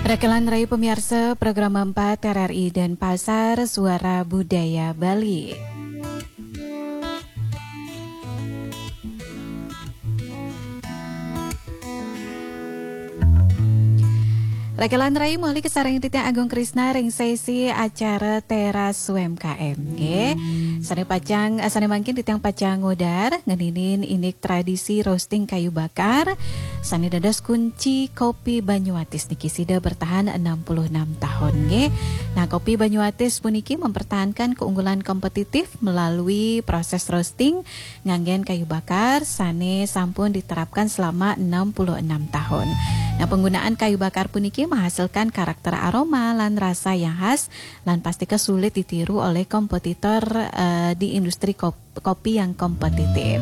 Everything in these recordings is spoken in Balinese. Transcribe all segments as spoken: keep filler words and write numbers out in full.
Rakelan rai pamiarsa program empat R R I Denpasar, Suara Budaya Bali. Rakelan rai, malih kasareng titiang Agung Krisna ring sesi acara Teras U M K M, nggih. Sane pacang, eh, sane mangkin titiang pacang ngudar ngeninin indik tradisi roasting kayu bakar sane dados kunci Kopi Banyuatis niki, sida bertahan enam puluh enam tahun, nggih. Nah, Kopi Banyuatis puniki mempertahankan keunggulan kompetitif melalui proses roasting nganggen kayu bakar sane sampun diterapkan selama enam puluh enam tahun. Nah, penggunaan kayu bakar puniki menghasilkan karakter aroma lan rasa yang khas lan pastika sulit ditiru oleh kompetitor, eh, di industri kop-, kopi yang kompetitif.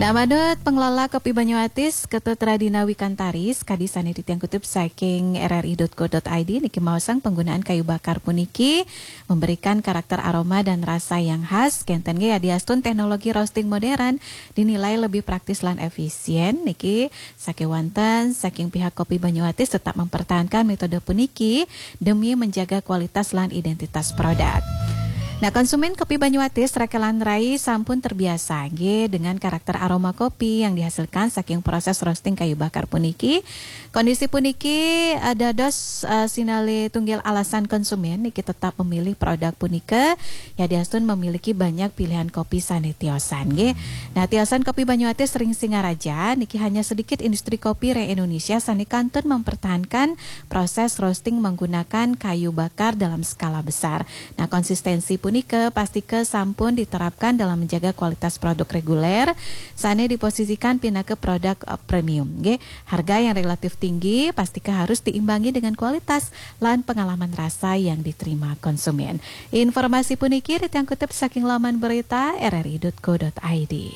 Nah, manut pengelola Kopi Banyuatis, Ketut Radina Wikantari, kadi sane titiang kutip saking R R I dot co dot I D, niki maosang penggunaan kayu bakar puniki memberikan karakter aroma dan rasa yang khas, kenten nggih, yadiastun teknologi roasting modern dinilai lebih praktis lan efisien. Niki sakewanten saking pihak Kopi Banyuatis tetap mempertahankan metode puniki demi menjaga kualitas lan identitas produk. Nah, konsumen Kopi Banyuatis, rakelan rai, sampun terbiasa nggih dengan karakter aroma kopi yang dihasilkan saking proses roasting kayu bakar puniki. Kondisi puniki, eh, dados, eh, sinalih tunggil alasan konsumen niki tetap memilih produk punika, yadiastun memiliki banyak pilihan kopi sane tiosan, nggih. Nah, tiosan Kopi Banyuatis ring Singaraja niki hanya sedikit industri kopi ring Indonesia sane kantun mempertahankan proses roasting menggunakan kayu bakar dalam skala besar. Nah, konsistensi punika pastika sampun diterapkan dalam menjaga kualitas produk reguler sane diposisikan pinaka produk, eh, premium, nggih. Harga yang relatif tinggi pastika harus diimbangi dengan kualitas lan pengalaman rasa yang diterima konsumen. Informasi puniki titiang kutip saking laman berita R R I dot co dot I D.